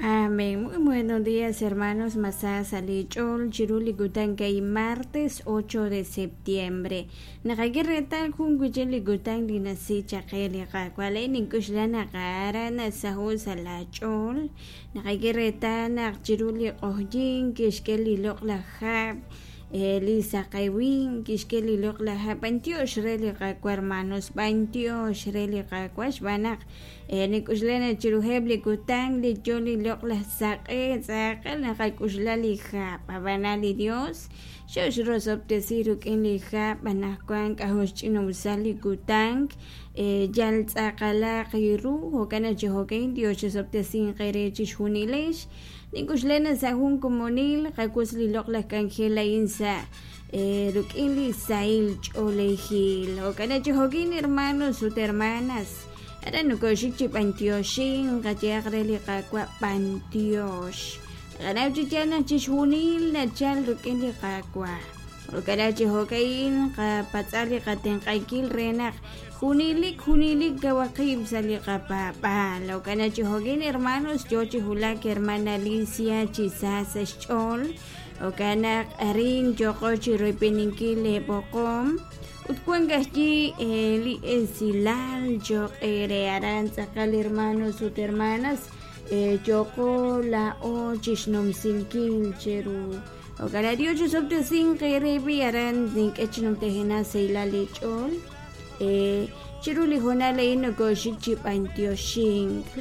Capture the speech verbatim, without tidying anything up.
Amén. Muy buenos días, hermanos. Masa sa' li ch'ool chiru li kutan kay martes ocho de septiembre. Naqak'e reetal jun wi'chik li kutan li nasi chaq qe li Qaawa'. Laa'in nink'oxla naq aran nasaho' sa' la ch'ool. Naqak'e reetal naq chiru li q'oqyink kixk'e li loq'laj hab', li saqewin kixk'e li loq'laj hab'. B'antiox re li Qaawa', hermanos, b'antiox re li Qaawa' xb'aan naq nik'oxla naq chiruheb' li kutan li yoo li loq'laj saq'e tz'aqal naqak'oxla li hab', ab'anan li Dios xoxrosob'tesi rik'in li hab'. Anaqwan k'ajo' xch'ina'usal li kutan, yal tz'aqalaq ru. Jo'kan naq chi jo'kan Dios chisob'tesinq eere chixjunilex. Nink'oxla naq sa' jun komonil qawotz li loq'laj k'anjel a'in sa' rik'in li sahil ch'oolejil. Jo'kan naq chi jo'kan, hermanos ut hermanas, aran nokoxik chi b'antioxink, qayehaq re li Qaawa' b'antiox. Naqanaw chi yaal naq chixjunil nachal rik'in li Qaawa'. Jo'kan naq chi jo'kan qapatz'a li qatenq'ankil re naq junelik junelik kawaq qib' sa' li qapaab'aal. Jo'kan naq chi jo'kan, hermanos, yoo chi wulak hermana Alicia chi sa sa' xch'ool. Jo'kan naq arin yooqo chi royb'eninkil leeb'oqom ut wank ajwi' li esilal cho'q eere aran tz'aqal, hermanos ut hermanas, yooqo laa'o chixnumsinkil cheru. Jo'kan naq Dios chisob'tesinq eere. B'i aran nink'e chi numtajenaq sahilal li ch'ool. Chiru li hoonal a'in nokoxik chi b'antioxink.